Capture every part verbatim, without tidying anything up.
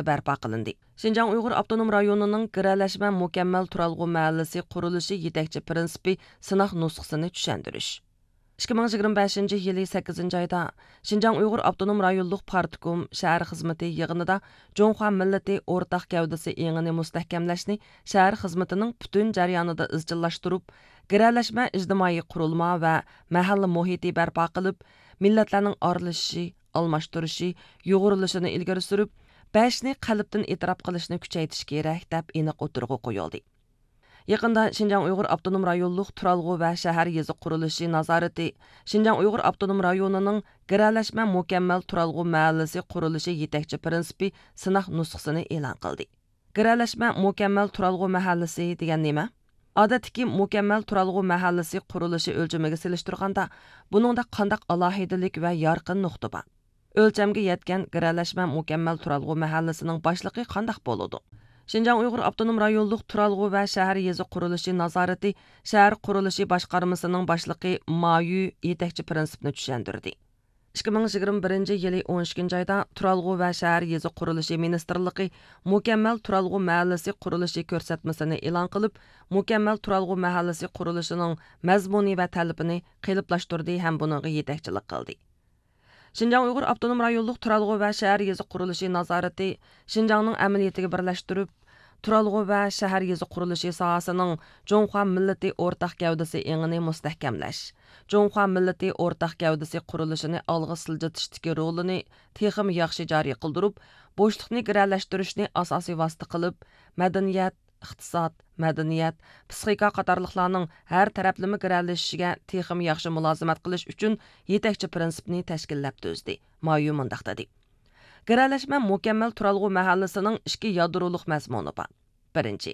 بەرپا قىلىندى. شىنجاڭ ئۇيغۇر ئاپتونوم رايونىنىڭ گىرەلەشمە مۇكەممەل تۇرالغۇ مەھەللىسى قۇرۇلۇشى يېتەكچى پىرىنسىپى سىناق نۇسخىسىنى چۈشەندۈرۈش. ئىككى مىڭ يىگىرمە بەشىنچى يىلى سەككىزىنچى ئايدا شىنجاڭ ئۇيغۇر ئاپتونوم رايونلۇق پارتكوم شەھەر خىزمىتى يىغىنىدا جۇڭخۇا مىللىتى ئورتاق گەۋدىسى ئېڭىنى مۇستەھكەملەشنى شەھەر خىزمىتىنىڭ پۈتۈن جەريانىدا ئىزچىللاشتۇرۇپ، گىرەلەشمە ئىجتىمائىي قۇرۇلما ۋە مەھەللە مۇھىتى بەرپا قىلىپ، مىللەتلەرنىڭ ئارىلىشىشى، ئالماشتۇرۇشى، يۇغۇرۇلۇشىنى ئىلگىرى سۈرۈپ، بەشنى قەلبتىن ئېتىراپ قىلىشنى كۈچەيتىش كېرەك، دەپ ئېنىق ئوتتۇرىغا قويۇلدى. يېقىندا شىنجاڭ ئۇيغۇر ئاپتونوم رايونلۇق تۇرالغۇ ۋە شەھەر يېزا قۇرۇلۇشى نازارىتى، شىنجاڭ ئۇيغۇر ئاپتونوم رايونىنىڭ گىرەلەشمە مۇكەممەل تۇرالغۇ مەھەللىسى قۇرۇلۇشى يېتەكچى پىرىنسىپى سىناق نۇسخىسىنى ئېلان قىلدى. گىرەلەشمە مۇكەممەل تۇرالغۇ مەھەللىسى دېگەن نېمە؟ ئادەتتىكى مۇكەممەل تۇرالغۇ مەھەللىسى قۇرۇلۇشى ئۆلچىمىگە سېلىشتۇرغاندا، بۇنىڭدا قانداق ئالاھىدىلىك ۋە يارقىن نۇقتا بار؟ ئۆلچەمگە يەتكەن گىرەلەشمە مۇكەممەل تۇرالغۇ مەھەللىسىنىڭ باشلىقى قانداق بولىدۇ؟ شىنجاڭ ئۇيغۇر ئاپتونوم رايونلۇق تۇرالغۇ ۋە شەھەر يېزا قۇرۇلۇشى نازارىتى شەھەر قۇرۇلۇشى باشقارمىسىنىڭ باشلىقى ما يۈ يېتەكچى پىرىنسىپنى چۈشەندۈردى. ئىككى مىڭ يىگىرمە بىرىنچى يىلى ئون ئىككىنچى ئايدا تۇرالغۇ ۋە شەھەر يېزا قۇرۇلۇشى مىنىستىرلىقى مۇكەممەل تۇرالغۇ مەھەللىسى قۇرۇلۇشى كۆرسەتمىسىنى ئېلان قىلىپ، مۇكەممەل تۇرالغۇ مەھەللىسى قۇرۇلۇشىنىڭ مەزمۇنى ۋە تەلىپىنى قېلىپلاشتۇردى ھەم بۇنىڭغا يېتەكچىلىك قىلدى. شىنجاڭ ئۇيغۇر ئاپتونوم رايونلۇق تۇرالغۇ ۋە شەھەر يېزا قۇرۇلۇشى نازارىتى شىنجاڭنىڭ ئەمەلىيىتىگە بىرلەشتۈرۈپ، تۇرالغۇ ۋە شەھەر يېزا قۇرۇلۇشى ساھەسىنىڭ جۇڭخۇا مىللىتى ئورتاق گەۋدىسى ئېڭىنى مۇستەھكەملەش، جۇڭخۇا مىللىتى ئورتاق گەۋدىسى قۇرۇلۇشىنى ئالغا سىلجىتىشتىكى رولىنى تېخىمۇ ياخشى جارى قىلدۇرۇپ، بوشلۇقنى گىرەلەشتۈرۈشنى ئاساسىي ۋاسىتە قىلىپ، مەدەنىيەت، ئىقتىساد، مەدەنىيەت، پىسخىكا قاتارلىقلارنىڭ ھەر تەرەپلىمە گىرەلىشىشىگە تېخىمۇ ياخشى مۇلازىمەت قىلىش ئۈچۈن يېتەكچى پىرىنسىپنى تەشكىللەپ تۈزدى. ما يۈ مۇنداق دېدى: گىرەلەشمە مۇكەممەل تۇرالغۇ مەھەللىسىنىڭ ئىككى يادرولۇق مەزمۇنى بار. بىرىنچى،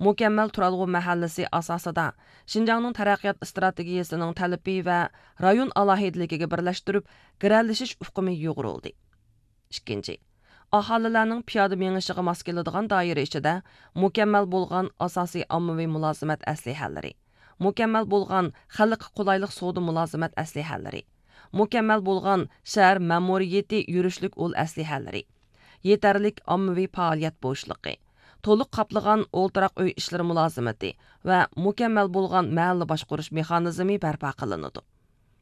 مۇكەممەل تۇرالغۇ مەھەللىسى ئاساسىدا شىنجاڭنىڭ تەرەققىيات ئىستراتېگىيىسىنىڭ تەلىپى ۋە رايون ئالاھىدىلىكىگە بىرلەشتۈرۈپ، گىرەلىشىش ئۇقۇمى يۇغۇرۇلدى. ئىككىنچى، ئاھالىلەرنىڭ پىيادە مېڭىشىغا ماس كېلىدىغان دائىرە ئىچىدە مۇكەممەل بولغان ئاساسىي ئاممىۋى مۇلازىمەت ئەسلىھەلىرى، مۇكەممەل بولغان خەلققە قولايلىق سودا مۇلازىمەت ئەسلىھەلىرى، مۇكەممەل بولغان شەھەر مەمۇرىيىتى يۈرۈشلۈك ئۇل ئەسلىھەلىرى، يېتەرلىك ئاممىۋى پائالىيەت بوشلۇقى، تولۇق قاپلىغان ئولتۇراق ئۆي ئىشلىرى مۇلازىمىتى ۋە مۇكەممەل بولغان مەھەللە باشقۇرۇش مېخانىزمى بەرپا قىلىنىدۇ.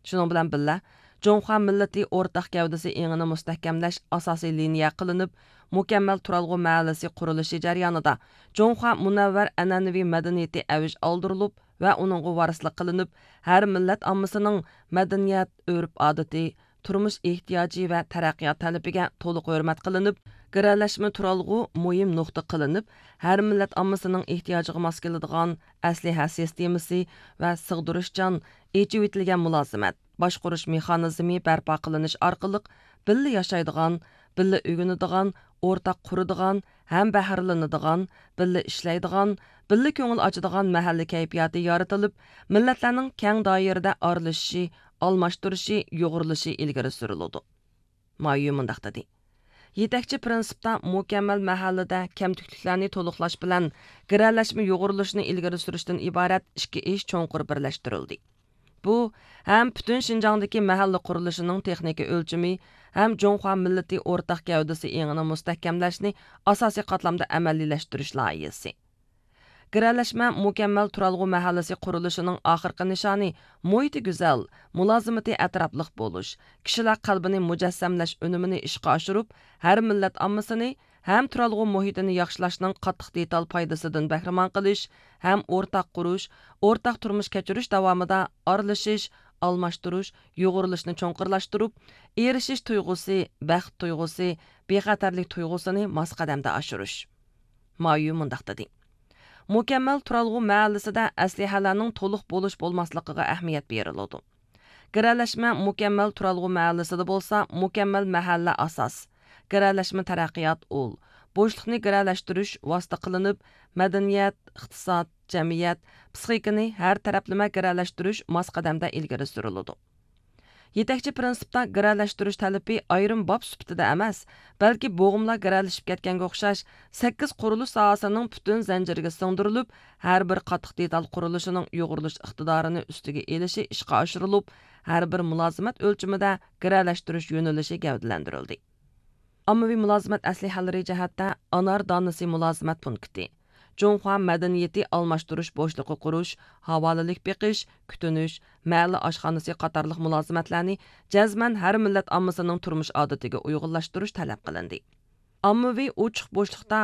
شۇنىڭ بىلەن بىللە، جۇڭخۇا مىللىتى ئورتاق گەۋدىسى ئېڭىنى مۇستەھكەملەش ئاساسىي لىنىيە قىلىنىپ، مۇكەممەل تۇرالغۇ مەھەللىسى قۇرۇلۇشى جەريانىدا جۇڭخۇا مۇنەۋۋەر ئەنئەنىۋى مەدەنىيىتى ئەۋج ئالدۇرۇلۇپ ۋە ئۇنىڭغا ۋارىسلىق قىلىنىپ، ھەر مىللەت ئاممىسىنىڭ مەدەنىيەت، ئۆرپ-ئادىتى، تۇرمۇش ئېھتىياجى ۋە تەرەققىيات تەلىپىگە تولۇق ھۆرمەت قىلىنىپ، گىرەلەشمە تۇرالغۇ مۇھىم نۇقتا قىلىنىپ، ھەر مىللەت ئاممىسىنىڭ ئېھتىياجىغا ماس كېلىدىغان ئەسلىھە سىستېمىسى ۋە سىغدۇرۇشچان، ئېچىۋېتىلگەن مۇلازىمەت، باشقۇرۇش مېخانىزمى بەرپا قىلىنىش ئارقىلىق بىللە ياشايدىغان، بىللە ئۆگىنىدىغان، ئورتاق قۇرىدىغان، ھەم بەھرىلىنىدىغان، بىللە ئىشلەيدىغان، بىللە كۆڭۈل ئاچىدىغان مەھەللە كەيپىياتى يارىتىلىپ، مىللەتلەرنىڭ كەڭ دائىرىدە ئارىلىشىشى، ئالماشتۇرۇشى، يۇغۇرۇلۇشى ئىلگىرى سۈرۈلىدۇ. ما يۈ مۇنداق دېدى: يېتەكچى پىرىنسىپتا مۇكەممەل مەھەللىدە كەمتۈكلۈكلەرنى تولۇقلاش بىلەن گىرەلەشمە يۇغۇرۇلۇشىنى ئىلگىرى سۈرۈشتىن ئىبارەت ئىككى ئىش چوڭقۇر بىرلەشتۈرۈلدى. بۇ ھەم پۈتۈن شىنجاڭدىكى مەھەللە قۇرۇلۇشىنىڭ تېخنىكا ئۆلچىمى، ھەم جۇڭخۇا مىللىتى ئورتاق گەۋدىسى ئېڭىنى مۇستەھكەملەشنى ئاساسىي قاتلامدا ئەمەلىيلەشتۈرۈش لايىھىسى. گىرەلەشمە مۇكەممەل تۇرالغۇ مەھەللىسى قۇرۇلۇشىنىڭ ئاخىرقى نىشانى مۇھىتى گۈزەل، مۇلازىمىتى ئەتراپلىق بولۇش، كىشىلەر قەلبىنى مۇجەسسەملەش ئۈنۈمىنى ئىشقا ئاشۇرۇپ، ھەر مىللەت ئاممىسىنى ھەم تۇرالغۇ مۇھىتىنى ياخشىلاشنىڭ قاتتىق دېتال پايدىسىدىن بەھرىمەن قىلىش ھەم ئورتاق قۇرۇش، ئورتاق تۇرمۇش كەچۈرۈش داۋامىدا ئارىلىشىش، ئالماشتۇرۇش، يۇغۇرۇلۇشنى چوڭقۇرلاشتۇرۇپ، ئېرىشىش تۇيغۇسى، بەخت تۇيغۇسى، بىخەتەرلىك تۇيغۇسىنى ماس قەدەمدە ئاشۇرۇش. ما يۈ مۇنداق دېدى: مۇكەممەل تۇرالغۇ مەھەللىسىدە ئەسلىھەلەرنىڭ تولۇق بولۇش بولماسلىقىغا ئەھمىيەت بېرىلىدۇ. گىرەلەشمە مۇكەممەل تۇرالغۇ مەھەللىسىدە بولسا، مۇكەممەل مەھەللە ئاساس، گىرەلەشمە تەرەققىيات ئۇل، بوشلۇقنى گىرەلەشتۈرۈش ۋاسىتە قىلىنىپ، مەدەنىيەت، ئىقتىساد، جەمئىيەت، پىسخىكىنى ھەر تەرەپلىمە گىرەلەشتۈرۈش ماس قەدەمدە ئىلگىرى سۈرۈلىدۇ. يېتەكچى پىرىنسىپتا گىرەلەشتۈرۈش تەلىپى ئايرىم باب سۈپىتىدە ئەمەس، بەلكى بوغۇملار گىرەلىشىپ كەتكەنگە ئوخشاش، سەككىز قۇرۇلۇش ساھەسىنىڭ پۈتۈن زەنجىرىگە سىڭدۈرۈلۈپ، ھەر بىر قاتتىق دېتال قۇرۇلۇشىنىڭ يۇغۇرۇلۇش ئىقتىدارىنى ئۈستىگە ئېلىشى ئىشقا ئاشۇرۇلۇپ، ھەر بىر مۇلازىمەت ئۆلچىمىدە گىرەلەشتۈرۈش يۆنىلىشى گەۋدىلەندۈرۈلدى. ئاممىۋى مۇلازىمەت ئەسلىھەلىرى جەھەتتە ئانار دانىسى مۇلازىمەت پونكىتى، جۇڭخۇا مەدەنىيىتى ئالماشتۇرۇش بوشلۇقى قۇرۇش، ھاۋالىلىك بېقىش، كۈتۈنۈش، مەھەللە ئاشخانىسى قاتارلىق مۇلازىمەتلەرنى جەزمەن ھەر مىللەت ئاممىسىنىڭ تۇرمۇش ئادىتىگە ئۇيغۇنلاشتۇرۇش تەلەپ قىلىندى. ئاممىۋى ئوچۇق بوشلۇقتا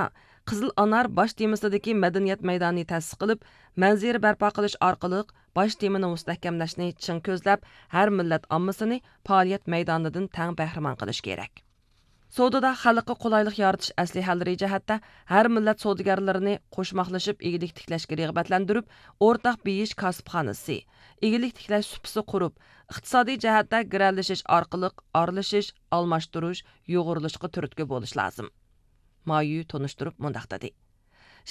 قىزىل ئانار باش تېمىسىدىكى مەدەنىيەت مەيدانى تەسىس قىلىپ، مەنزىرە بەرپا قىلىش ئارقىلىق باش تېمىنى مۇستەھكەملەشنى چىڭ كۆزلەپ، ھەر مىللەت ئاممىسىنى پائالىيەت مەيدانىدىن تەڭ بەھرىمەن قىلىش كېرەك. سودىدا خەلققە قولايلىق يارىتىش ئەسلىھەلىرى جەھەتتە ھەر مىللەت سودىگەرلىرىنى قوشماقلىشىپ ئىگىلىك تىكلەشكە رىغبەتلەندۈرۈپ، ئورتاق بېيىش كاسىپخانىسى، ئىگىلىك تىكلەش سۇپىسى قۇرۇپ، ئىقتىسادىي جەھەتتە گىرەلىشىش ئارقىلىق ئارىلىشىش، ئالماشتۇرۇش، يۇغۇرۇلۇشقا تۈرتكە بولۇش لازىم. مايۈ تونۇشتۇرۇپ مۇنداق دېدى: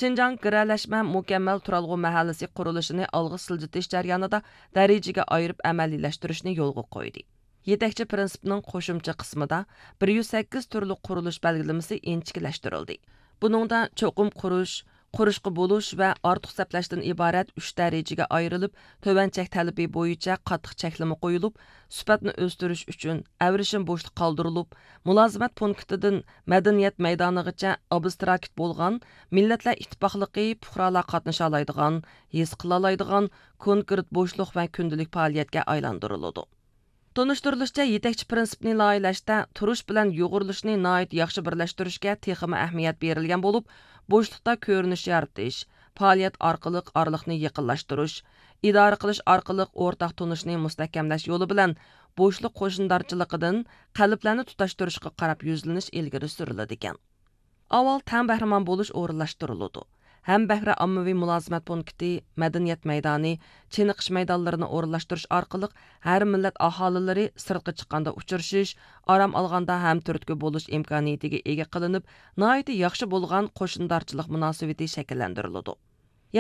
شىنجاڭ گىرەلەشمە مۇكەممەل تۇرالغۇ مەھەللىسى قۇرۇلۇشىنى ئالغا سىلجىتىش جەريانىدا دەرىجىگە ئايرىپ ئەمەلىيلەشتۈرۈشنى يولغا قويدى. يېتەكچى پىرىنسىپنىڭ قوشۇمچە قىسمىدا بىر يۈز سەككىز تۈرلۈك قۇرۇلۇش بەلگىلىمىسى ئىنچىكىلەشتۈرۈلدى. بۇنىڭدا چوقۇم قۇرۇش، قۇرۇشقا بولۇش ۋە ئارتۇق سەپلەشتىن ئىبارەت ئۈچ دەرىجىگە ئايرىلىپ، تۆۋەن چەك تەلىپى بويىچە قاتتىق چەكلىمە قويۇلۇپ، سۈپەتنى ئۆستۈرۈش ئۈچۈن ئەۋرىشىم بوشلۇق قالدۇرۇلۇپ، مۇلازىمەت پونكىتىدىن مەدەنىيەت مەيدانىغىچە ئابستراكت بولغان مىللەتلەر ئىتتىپاقلىقى پۇقرالار قاتنىشالايدىغان، ھېس قىلالايدىغان كونكرېت بوشلۇق ۋە كۈندىلىك پائالىيەتكە ئايلاندۇرۇلىدۇ. تونۇشتۇرۇلۇشىچە، يېتەكچى پىرىنسىپنى لايىھىلەشتە تۇرۇش بىلەن يۇغۇرۇلۇشنى ناھايىتى ياخشى بىرلەشتۈرۈشكە تېخىمۇ ئەھمىيەت بېرىلگەن بولۇپ، بوشلۇقتا كۆرۈنۈش يارىتىش، پائالىيەت ئارقىلىق ئارىلىقنى يېقىنلاشتۇرۇش، ئىدارە قىلىش ئارقىلىق ئورتاق تونۇشنى مۇستەھكەملەش يولى بىلەن بوشلۇق قوشنىدارچىلىقىدىن قەلبلەرنى تۇتاشتۇرۇشقا قاراپ يۈزلىنىش ئىلگىرى سۈرۈلىدىكەن. ئاۋۋال تەڭ بەھرىمەن بولۇش ئورۇنلاشتۇرۇلىدۇ. ھەم بەھرە ئاممىۋى مۇلازىمەت پونكىتى، مەدەنىيەت مەيدانى، چېنىقىش مەيدانلىرىنى ئورۇنلاشتۇرۇش ئارقىلىق ھەر مىللەت ئاھالىلىرى سىرتقا چىققاندا ئۇچرىشىش، ئارام ئالغاندا ھەم تۈرتكە بولۇش ئىمكانىيىتىگە ئىگە قىلىنىپ، ناھايىتى ياخشى بولغان قوشنىدارچىلىق مۇناسىۋىتى شەكىللەندۈرۈلىدۇ.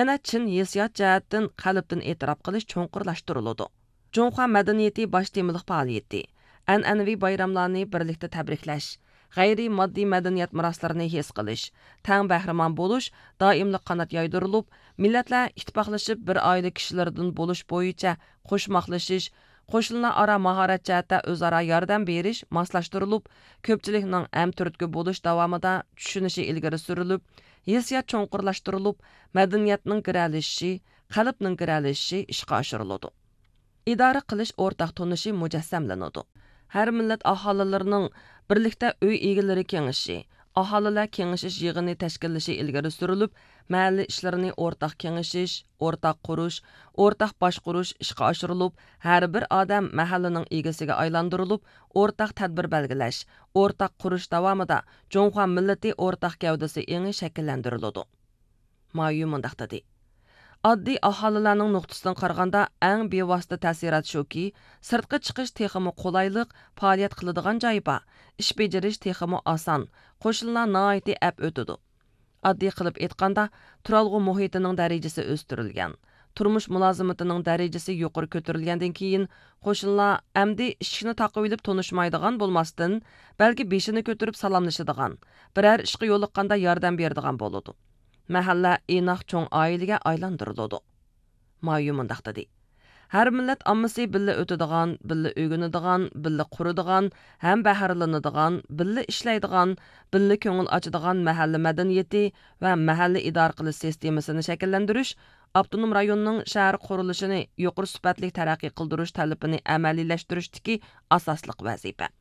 يەنە چىن ھېسسىيات جەھەتتىن قەلبتىن ئېتىراپ قىلىش چوڭقۇرلاشتۇرۇلىدۇ. جۇڭخۇا مەدەنىيىتى باش تېمىلىق پائالىيىتى، ئەنئەنىۋى بايراملارنى بىرلىكتە تەبرىكلەش، غەيرىي ماددىي مەدەنىيەت مىراسلىرىنى ھېس قىلىش، تەڭ بەھرىمەن بولۇش دائىملىق قانات يايدۇرۇلۇپ، مىللەتلەر ئىتتىپاقلىشىپ بىر ئائىلە كىشىلىرىدىن بولۇش بويىچە قوشماقلىشىش، قوشۇنلار ئارا ماھارەت جەھەتتە ئۆزئارا ياردەم بېرىش ماسلاشتۇرۇلۇپ، كۆپچىلىكنىڭ ھەم تۈرتكە بولۇش داۋامىدا چۈشىنىشى ئىلگىرى سۈرۈلۈپ، ھېسسىيات چوڭقۇرلاشتۇرۇلۇپ، مەدەنىيەتنىڭ گىرەلىشىشى، قەلبنىڭ گىرەلىشىشى ئىشقا ئاشۇرۇلىدۇ. ئىدارە قىلىش ئورتاق تونۇشى مۇجەسسەملىنىدۇ. ھەر مىللەت ئاھالىلىرىنىڭ بىرلىكتە ئۆي ئىگىلىرى كېڭىشى، ئاھالىلەر كېڭىشىش يىغىنى تەشكىللىشى ئىلگىرى سۈرۈلۈپ، مەھەللە ئىشلىرىنى ئورتاق كېڭىشىش، ئورتاق قۇرۇش، ئورتاق باشقۇرۇش ئىشقا ئاشۇرۇلۇپ، ھەر بىر ئادەم مەھەللىنىڭ ئىگىسىگە ئايلاندۇرۇلۇپ، ئورتاق تەدبىر بەلگىلەش، ئورتاق قۇرۇش داۋامىدا جۇڭخۇا مىللىتى ئورتاق گەۋدىسى ئېڭى شەكىللەندۈرۈلىدۇ. مايۈ مۇنداق دېدى: ئاددىي ئاھالىلەرنىڭ نۇقتىسىدىن قارىغاندا، ئەڭ بىۋاسىتە تەسىرات شۇكى، سىرتقا چىقىش تېخىمۇ قولايلىق، پائالىيەت قىلىدىغان جاي بار، ئىش بېجىرىش تېخىمۇ ئاسان، قوشنىلار ناھايىتى ئەپ ئۆتىدۇ. ئاددىي قىلىپ ئېيتقاندا، تۇرالغۇ مۇھىتىنىڭ دەرىجىسى ئۆستۈرۈلگەن، تۇرمۇش مۇلازىمىتىنىڭ دەرىجىسى يۇقىرى كۆتۈرۈلگەندىن كېيىن، قوشنىلار ئەمدى ئىشىكنى تاقىۋېلىپ تونۇشمايدىغان بولماستىن، بەلكى بېشىنى كۆتۈرۈپ سالاملىشىدىغان، بىرەر ئىشقا يولۇققاندا ياردەم بېرىدىغان بولىدۇ. مەھەللە ئىناق چوڭ ئائىلىگە ئايلاندۇرۇلىدۇ. مايۇ مۇنداق دېدى: ھەر مىللەت ئاممىسى بىللە ئۆتىدىغان، بىللە ئۆگىنىدىغان، بىللە قۇرىدىغان، ھەم بەھرىلىنىدىغان، بىللە ئىشلەيدىغان، بىللە كۆڭۈل ئاچىدىغان مەھەللە مەدەنىيىتى ۋە مەھەللە ئىدارە قىلىش سىستېمىسىنى شەكىللەندۈرۈش ئاپتونوم رايوننىڭ شەھەر قۇرۇلۇشىنى يۇقىرى سۈپەتلىك تەرەققىي قىلدۇرۇش تەلىپىنى ئەمەلىيلەشتۈرۈشتىكى ئاساسلىق ۋەزىپە.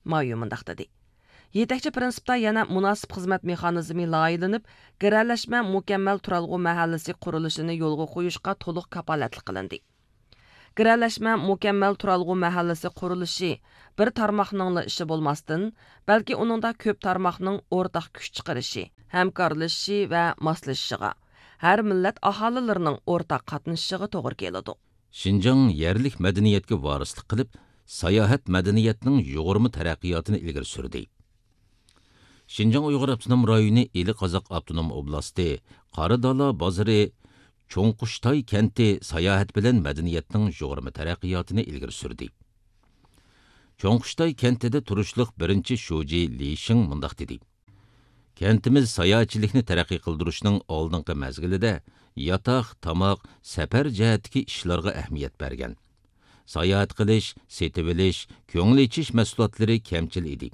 مايۇ مۇنداق دېدى: يېتەكچى پىرىنسىپتا يەنە مۇناسىپ خىزمەت مېخانىزمى لايىھەلىنىپ، گىرەلەشمە مۇكەممەل تۇرالغۇ مەھەللىسى قۇرۇلۇشىنى يولغا قويۇشقا تولۇق كاپالەتلىك قىلىندى. گىرەلەشمە مۇكەممەل تۇرالغۇ مەھەللىسى قۇرۇلۇشى بىر تارماقنىڭلا ئىشى بولماستىن، بەلكى ئۇنىڭدا كۆپ تارماقنىڭ ئورتاق كۈچ چىقىرىشى، ھەمكارلىشىشى ۋە ماسلىشىشىغا، ھەر مىللەت ئاھالىلىرىنىڭ ئورتاق قاتنىشىشىغا توغرا كېلىدۇ. شىنجاڭ يەرلىك مەدەنىيەتكە ۋارىسلىق قىلىپ، ساياھەت مەدەنىيەتنىڭ يۇغۇرما تەرەققىياتىنى ئىلگىرى سۈردى. شىنجاڭ ئۇيغۇر ئاپتونوم رايونى ئىلى قازاق ئاپتونوم ئوبلاستى قارادالا بازىرى چوڭقۇشتاي كەنتى ساياھەت بىلەن مەدەنىيەتنىڭ يۇغۇرما تەرەققىياتىنى ئىلگىرى سۈردى. چوڭقۇشتاي كەنتىدە تۇرۇشلۇق بىرىنچى شۇجى لى شىڭ مۇنداق دېدى: كەنتىمىز ساياھەتچىلىكنى تەرەققىي قىلدۇرۇشنىڭ ئالدىنقى مەزگىلىدە ياتاق، تاماق، سەپەر جەھەتتىكى ئىشلارغا ئەھمىيەت بەرگەن. ساياھەت قىلىش، سېتىۋېلىش، كۆڭۈل ئېچىش مەھسۇلاتلىرى كەمچىل ئىدى.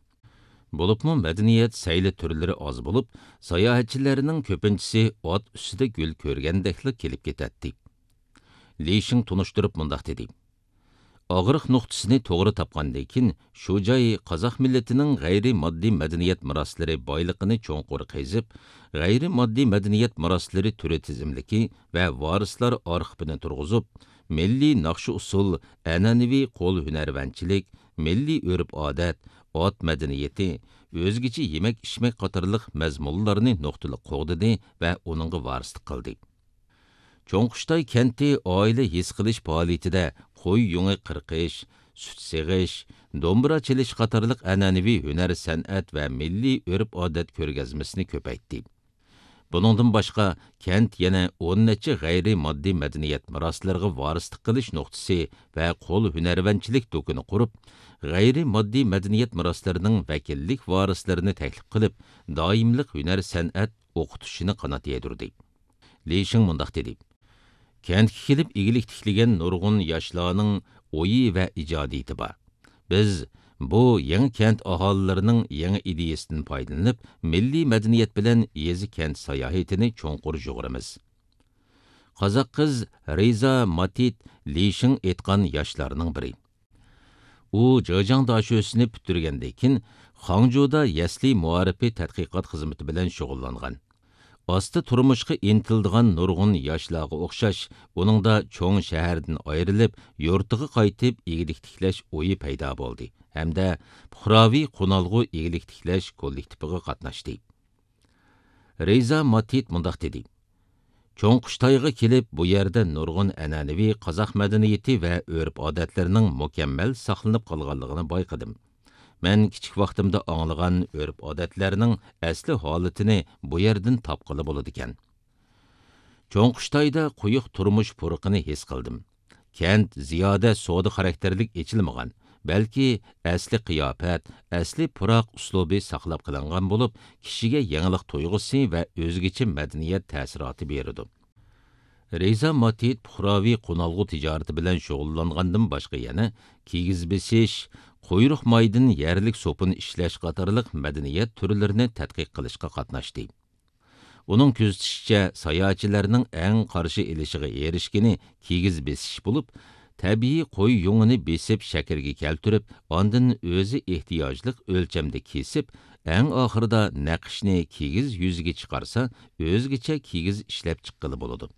بولۇپمۇ مەدەنىيەت سەيلە تۈرلىرى ئاز بولۇپ، ساياھەتچىلەرنىڭ كۆپىنچىسى ئات ئۈستىدە گۈل كۆرگەندەكلا كېلىپ كېتەتتى. لى شىڭ تونۇشتۇرۇپ مۇنداق دېدى: ئاغرىق نۇقتىسىنى توغرا تاپقاندىن كېيىن، شۇ جاي قازاق مىللىتىنىڭ غەيرىي ماددىي مەدەنىيەت مىراسلىرى بايلىقىنى چوڭقۇر قېزىپ، غەيرىي ماددىي مەدەنىيەت مىراسلىرى تۈرى تىزىملىكى ۋە ۋارىسلار ئارخىپىنى تۇرغۇزۇپ، مىللىي ناخشا-ئۇسسۇل، ئەنئەنىۋى قول ھۈنەرۋەنچىلىك، مىللىي ئۆرپ-ئادەت، ئات مەدەنىيىتى، ئۆزگىچە يېمەك-ئىچمەك قاتارلىق مەزمۇنلارنى نۇقتىلىق قوغدىدى ۋە ئۇنىڭغا ۋارىسلىق قىلدى. چوڭقۇشتاي كەنتى ئائىلە ھېس قىلىش پائالىيىتىدە قوي يۇڭى قىرقىش، سۈت سېغىش، دومبۇرا چېلىش قاتارلىق ئەنئەنىۋى ھۈنەر-سەنئەت ۋە مىللىي ئۆرپ-ئادەت كۆرگەزمىسىنى كۆپەيتتى. بۇنىڭدىن باشقا، كەنت يەنە ئون نەچچە غەيرىي ماددىي مەدەنىيەت مىراسلىرىغا ۋارىسلىق قىلىش نۇقتىسى ۋە قول ھۈنەرۋەنچىلىك دۇكىنى قۇرۇپ، غەيرىي ماددىي مەدەنىيەت مىراسلىرىنىڭ ۋەكىللىك ۋارىسلىرىنى تەكلىپ قىلىپ، دائىملىق ھۈنەر-سەنئەت ئوقۇتۇشىنى قانات يايدۇردى. لى شىڭ مۇنداق دېدى: كەنتكە كېلىپ ئىگىلىك تىكلىگەن نۇرغۇن ياشلارنىڭ ئويى ۋە ئىجادىيىتى بار. بىز بۇ يېڭى كەنت ئاھالىلىرىنىڭ يېڭى ئىدىيەسىدىن پايدىلىنىپ، مىللىي مەدەنىيەت بىلەن يېزا-كەنت ساياھىتىنى چوڭقۇر يۇغۇرىمىز. قازاق قىز رىزا ماتىت لى شىڭ ئېيتقان ياشلارنىڭ بىرى. ئۇ جېجياڭ داشۆسىنى پۈتتۈرگەندىن كېيىن، خاڭجۇدا يەسلى مائارىپى تەتقىقات خىزمىتى بىلەن شۇغۇللانغان. ئاستا تۇرمۇشقا ئىنتىلىدىغان نۇرغۇن ياشلارغا ئوخشاش، ئۇنىڭدا چوڭ شەھەردىن ئايرىلىپ، يۇرتىغا قايتىپ ئىگىلىك تىكلەش ئويى پەيدا بولدى ھەمدە پۇقراۋى قونالغۇ ئىگىلىك تىكلەش كوللېكتىپىغا قاتناشتى. رىزا ماتىت مۇنداق دېدى: چوڭقۇشتايغا كېلىپ، بۇ يەردە نۇرغۇن ئەنئەنىۋى قازاق مەدەنىيىتى ۋە ئۆرپ-ئادەتلىرىنىڭ مۇكەممەل ساقلىنىپ قالغانلىقىنى بايقىدىم. مەن كىچىك ۋاقتىمدا ئاڭلىغان ئۆرپ-ئادەتلەرنىڭ ئەسلى ھالىتىنى بۇ يەردىن تاپقىلى بولىدىكەن. چوڭقۇشتايدا قويۇق تۇرمۇش پۇرىقىنى ھېس قىلدىم. كەنت زىيادە سودا خاراكتېرلىك ئېچىلمىغان، بەلكى ئەسلى قىياپەت، ئەسلى پۇراق ئۇسلۇبى ساقلاپ قېلىنغان بولۇپ، كىشىگە يېڭىلىق تۇيغۇسى ۋە ئۆزگىچە مەدەنىيەت تەسىراتى بېرىدۇ. رىزا ماتىت پۇقراۋى قونالغۇ تىجارىتى بىلەن شۇغۇللانغاندىن باشقا يەنە كىگىز بېسىش، قۇيرۇق مايدىن يەرلىك سوپۇن ئىشلەش قاتارلىق مەدەنىيەت تۈرلىرىنى تەتقىق قىلىشقا قاتناشتى. ئۇنىڭ كۆزىتىشىچە، ساياھەتچىلەرنىڭ ئەڭ قارشى ئېلىشىغا ئېرىشكىنى كىگىز بېسىش بولۇپ، تەبىئىي قوي يۇڭىنى بېسىپ شەكىلگە كەلتۈرۈپ، ئاندىن ئۆزى ئېھتىياجلىق ئۆلچەمدە كېسىپ، ئەڭ ئاخىرىدا نەقىشنى كىگىز يۈزىگە چىقارسا، ئۆزگىچە كىگىز ئىشلەپ چىققىلى بولىدۇ.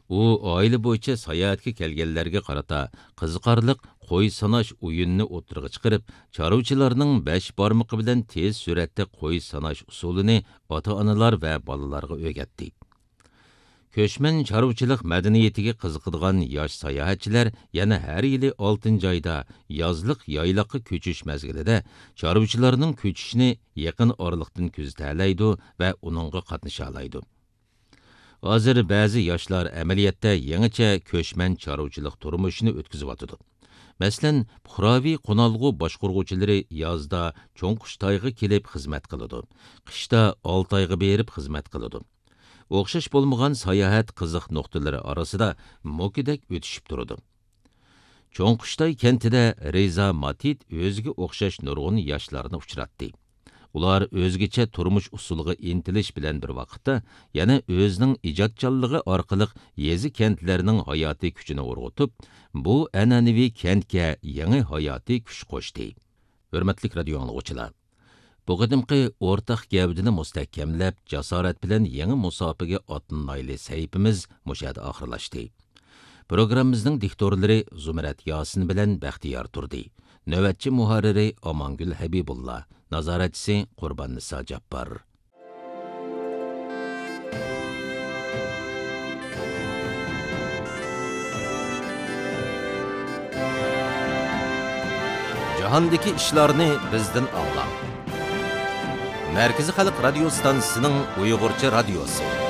ئۇ ئائىلە بويىچە ساياھەتكە كەلگەنلەرگە قارىتا قىزىقارلىق قوي ساناش ئويۇنىنى ئوتتۇرىغا چىقىرىپ، چارۋىچىلارنىڭ بەش بارمىقى بىلەن تېز سۈرئەتتە قوي ساناش ئۇسۇلىنى ئاتا-ئانىلار ۋە بالىلارغا ئۆگەتتى. كۆچمەن چارۋىچىلىق مەدەنىيىتىگە قىزىقىدىغان ياش ساياھەتچىلەر يەنە ھەر يىلى ئالتىنچى ئايدا يازلىق يايلاققا كۆچۈش مەزگىلىدە چارۋىچىلارنىڭ كۆچۈشىنى يېقىن ئارىلىقتىن كۆزىتەلەيدۇ ۋە ئۇنىڭغا قاتنىشالايدۇ. ھازىر بەزى ياشلار ئەمەلىيەتتە يېڭىچە كۆچمەن چارۋىچىلىق تۇرمۇشىنى ئۆتكۈزۈۋاتىدۇ. مەسىلەن، پۇقراۋى قونالغۇ باشقۇرغۇچىلىرى يازدا چوڭقۇشتايغا كېلىپ خىزمەت قىلىدۇ، قىشتا ئالتايغا بېرىپ خىزمەت قىلىدۇ. ئوخشاش بولمىغان ساياھەت قىزىق نۇقتىلىرى ئارىسىدا مۇكىدەك ئۆتۈشۈپ تۇرىدۇ. چوڭقۇشتاي كەنتىدە رىزا ماتىت ئۆزىگە ئوخشاش نۇرغۇن ياشلارنى ئۇچراتتى. ئۇلار ئۆزگىچە تۇرمۇش ئۇسۇلىغا ئىنتىلىش بىلەن بىر ۋاقىتتا، يەنە ئۆزىنىڭ ئىجادچانلىقى ئارقىلىق يېزا-كەنتلەرنىڭ ھاياتىي كۈچىنى ئۇرغۇتۇپ، بۇ ئەنئەنىۋى كەنتكە يېڭى ھاياتىي كۈچ قوشتى. ھۆرمەتلىك رادىيو ئاڭلىغۇچىلار! بۇ قېتىمقى ئورتاق گەۋدىنى مۇستەھكەملەپ، جاسارەت بىلەن يېڭى مۇساپىگە ئاتلىنايلى سەھىپىمىز مۇشۇ يەردە ئاخىرلاشتى. پروگراممىمىزنىڭ دىكتورلىرى زۇمرەت ياسىن بىلەن بەختىيار تۇردى. نۆۋەتچى مۇھەررىرى ئامانگۈل ھەبىبۇللا. نازارەتچىسى قۇرباننىسا جاپپار. جاھاندىكى ئىشلارنى بىزدىن ئاڭلاڭ. مەركىزىي خەلق رادىيو ستانسىسىنىڭ ئۇيغۇرچە رادىيوسى.